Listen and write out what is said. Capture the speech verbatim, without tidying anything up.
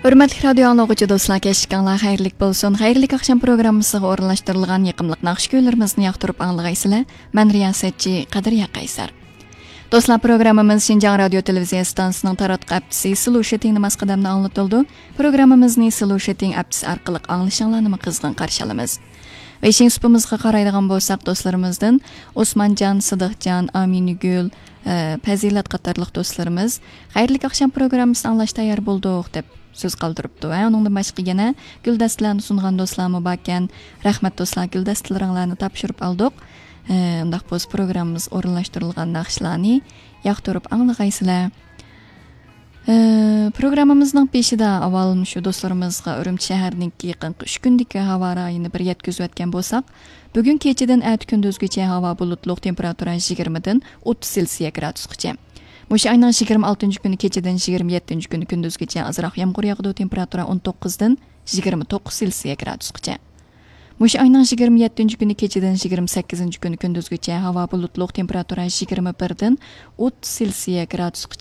ھۆرمەتلىك رادىيو ئاڭلىغۇچى دوستلار، كەچلىكىڭلار خەيرلىك بولسۇن. خەيرلىك ئاخشام پروگراممىسىغا ئورۇنلاشتۇرۇلغان يېقىملىق ناخشا كۈيلىرىمىزنى ياقتۇرۇپ ئاڭلىغايسىلەر. مەن رىياسەتچى قەدرىيە قەيسەر. دوستلار، پروگراممىمىز شىنجاڭ رادىيو تېلېۋىزىيە ئىستانسىسىنىڭ تاراتقۇ ئەپچىسى سلوشىتىڭ نېمە قەدەمدە ئاڭلىتىلىدۇ. پروگراممىمىزنى سلوشىتىڭ ئەپچىسى ئارقىلىق ئاڭلىشىڭلارنىمۇ قىزغىن قارشى ئالىمىز. ۋېيشىن سۇپىمىزغا قارايدىغان بولساق، دوستلىرىمىزدىن ئوسمانجان، سىدىقجان، ئامىنىگۈل، ئە، پەزىلەت قاتارلىق دوستلىرىمىز خەيرلىك ئاخشام پروگراممىسىنى ئاڭلاش تەييار بولدۇق دەپ سۆز قالدۇرۇپتۇ. ھە، ئۇنىڭدىن باشقا يەنە گۈلدەستىلەرنى سۇنغان دوستلارمۇ باركەن. رەھمەت دوستلار، گۈلدەستىلىرىڭلارنى تاپشۇرۇپ ئالدۇق. ئە، ئۇنداق بولسا پروگراممىمىز ئورۇنلاشتۇرۇلغان ناخشىلارنى ياقتۇرۇپ ئاڭلىغايسىلەر. ئە، پروگراممىمىزنىڭ بېشىدا ئاۋۋال مۇشۇ دوستلىرىمىزغا ئۈرۈمچى شەھىرىنىڭكى يېقىنقى ئۈچ كۈندىكى ھاۋا رايىنى بىر يەتكۈزۈۋەتكەن بولساق، بۈگۈن كېچىدىن ئەتە كۈندۈزگىچە ھاۋا بۇلۇتلۇق، تېمپېراتۇرا يىگىرمىدىن ئوتتۇز سېلسىيە گرادۇسقىچە. مۇشۇ ئاينىڭ يىگىرمە ئالتىنچى كۈنى كېچىدىن يىگىرمە يەتتىنچى كۈنى كۈندۈزگىچە ئازراق يامغۇر ياغىدۇ، تېمپېراتۇرا ئون توققۇزدىن يىگىرمە توققۇز سېلسىيە گرادۇسقىچە. مۇشۇ ئاينىڭ يىگىرمە يەتتىنچى كۈنى كېچىدىن يىگىرمە سەككىزىنچى كۈنى كۈندۈزگىچە ھاۋا بۇلۇتلۇق، تېمپېراتۇرا يىگىرمە بىردىن ئوتتۇز سېلسىيە گرادۇسقىچە.